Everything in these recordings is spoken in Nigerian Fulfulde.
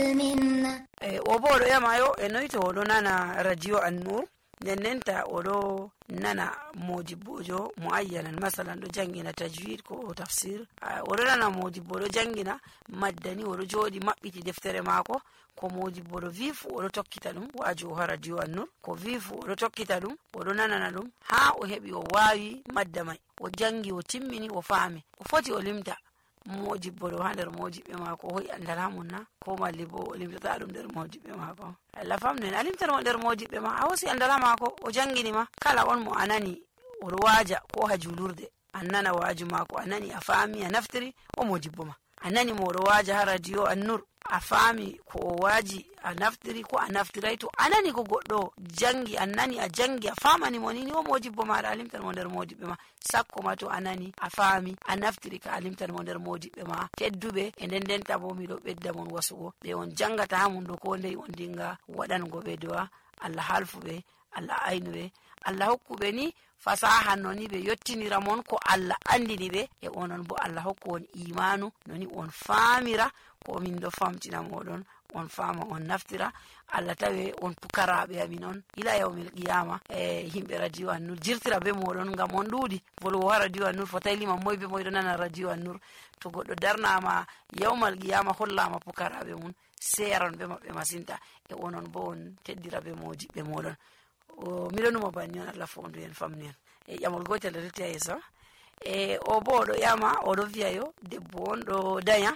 o bo oɗo yamayo e noyi to oɗo nana radio An-Nur ndenta oɗo nana modibbojo muayyanan masalan ɗo jangina tajwid ko tafsir, oɗo nana modibbo ɗo jangina maddani oɗo joɗi maɓɓiti deftere mako, ko modibbo ɗo vi fu oɗo tokkita ɗum wajo ha radio An-Nur, ko vi fu oɗo tokkita ɗum oɗo nanana ɗum ha o heɓi o wawi madda mai, o jangi o timmini o faami, o foti o limta modibbo ɗo ha nder modibɓe mako o hoyi andal ha munna, ko malli bo o limtata ɗum nder modibɓe mako. Allah famnen a limtan mo nder modibɓe ma, a hosi andal ha mako o jangini ma, kala on mo anani oɗo waja ko ha julurde an nana waju mako, a nani a faami a naftiri o modibbo ma, a nani mo oɗo waja ha radio An-Nur a faami ko o waji a naftiri ko a naftirai, to a nani ko goɗɗo jangi an nani a jangi a famani mo ni o modibbo maɗa, a limtan mo nder modibɓe ma, sakko ma to a nani a faami a naftiri ka a limtan mo nder modibɓe ma tedduɓe. E ndenta bo miɗo ɓedda mon wasugo ɓe on jangata ha mun ɗo ko ndey on dinga waɗango ɓe do'a Allah halfuɓe, Allah aynuɓe, Allah hokkuɓe ni fasaha noni ɓe yottinira mon ko Allah andini ɓe, e onon bo Allah hokku on imanu noni on faamira ko min ɗo famtina moɗon, on faama on naftira, Allah tawe on pukaraɓe amin on ila yawmil qiyama. E himɓe radio An-Nur jirtira be moɗon ngam on ɗuuɗi volwo ha radio An-Nur, fotai lima moy be moy ɗo nana radio An-Nur. To goɗɗo darnama yawmal qiyama hollama pukaraɓe mun, seyaron be maɓɓe masinta, e onon bo on teddira be modibɓe moɗon. Miɗo numa banni on Allah fondu en famni en. E ƴamol gotel ɗo retti ha yeeso, e o bo oɗo ƴama oɗo wiya yo debbo on ɗo danya,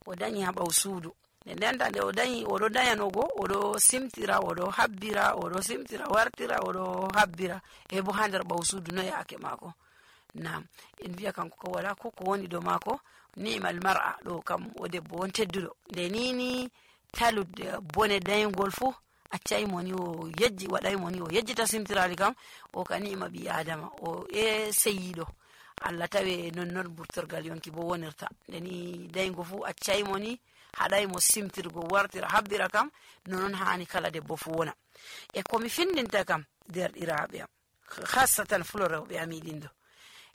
o danyi ha ɓaw suudu, ndenta nde o danyi oɗo danyanogo oɗo simtira oɗo habbira, oɗo simtira wartira oɗo habbira, e bo ha nder ɓaw suudu no yake mako. Nam en wiya kanko ko wala ko woni do mako ni'mal mar'a, ɗo kam o debbo on tedduɗo, nde nini taludde bone dayngol fu accai moni o yejji waɗai moni o yejjita simtirali kam o ka ni'ma ɓi adama o e seyiɗo, Allah tawe non burtorgal yonki bo wonirta, ndeni dayngo fu accai moni haɗai mo simtirgo wartira habbira kam nonon hani kala debbo fu wona. E komi findinta kam derɗiraɓe am hassatan fulo rewɓe amiɗin ɗo,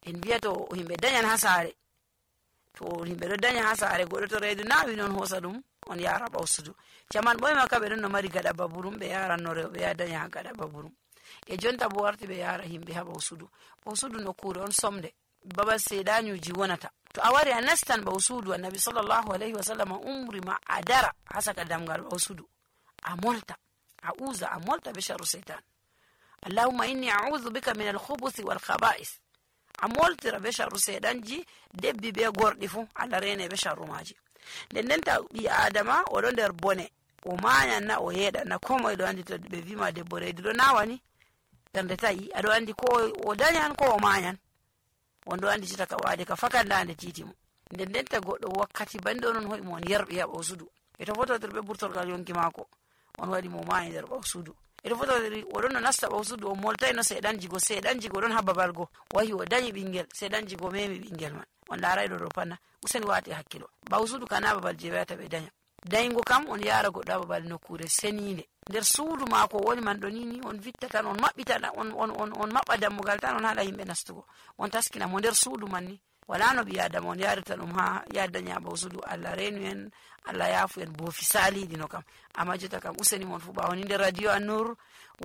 en wiya to himɓe dañan ha saare, to himɓe ɗo daña ha saare goɗɗo to reedu nawi non hosa ɗum on yara ɓawsudu, jaman ɓoy makka ɓe ɗon no mari gaɗa baburum, ɓe yaranno rewɓe ya daña ha gaɗa baburum, e jonta bo warti ɓe yara himɓe ha ɓawsudu. ɓawsudu nokkure on somde babal seeɗañuji wonata, to a wari a nastan ɓawsudu, annabi sallllahu alayhi wa sallam umri ma a dara ha saka damgal ɓawsudu a molta a usa a molta be sharru seytan, allahumma inni a'udhu bika min alkhubuthi wal khaba'is, a moltira be sharru seeɗanji debbi be gorɗi fu Allah rene be sharru maji. Ndenta ɓi adama oɗo nder bone, o mayan na o yeɗan na, ko moye ɗo andi to ɓe wima debbo reedu ɗo nawani ɓernde tayi, aɗo andi ko o dañan ko o mayan, on ɗo andi jita ka wade ka fakandande titi mo. Ndenta goɗɗo wakkati bande onon hoyi mo on yerɓi ha ɓawsudu, e to fototir ɓe ɓurtorgal yonki mako on waɗi mo mayi nder ɓawsudu, e to fototir oɗon no nasta ɓawsudu on moltai no seeɗanjigo ɗon ha babal go wahi o dañi ɓingel, seeɗanjigo memi ɓingel man, on larai ɗo panna, useni wati hakkilo, ɓawsudu kana babal je wiyata ɓe daña. Dayngo kam on yara goɗɗo ha babal nokkure senide, nder suudu mako woni man ɗo nini on vitta tan on maɓɓita on maɓɓa dammugal tan on haɗa yimɓe nastugo, on taskina mo nder suudu man ni, wala no ɓi adama on yarirta ɗum ha yadaña ɓawsudu. Allah renu en, Allah yafu en boofi saliɗi no kam, amma jota kam useni mon fu ɓawoni nder radio An-Nur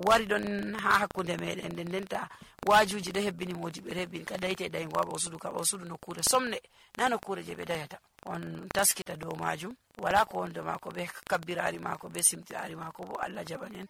wari ɗon ha hakkunde meɗen, ndenta wajuji ɗo hebbini modiɓɓe ɗo hebbini ka dayte dayngo ha ɓawsudu, ka ɓawsudu nokkure somne na nokkure je ɓe dayata, on taskita dow majum, wala ko wonde mako be kabbirari mako be simtirari mako bo Allah jaɓan en.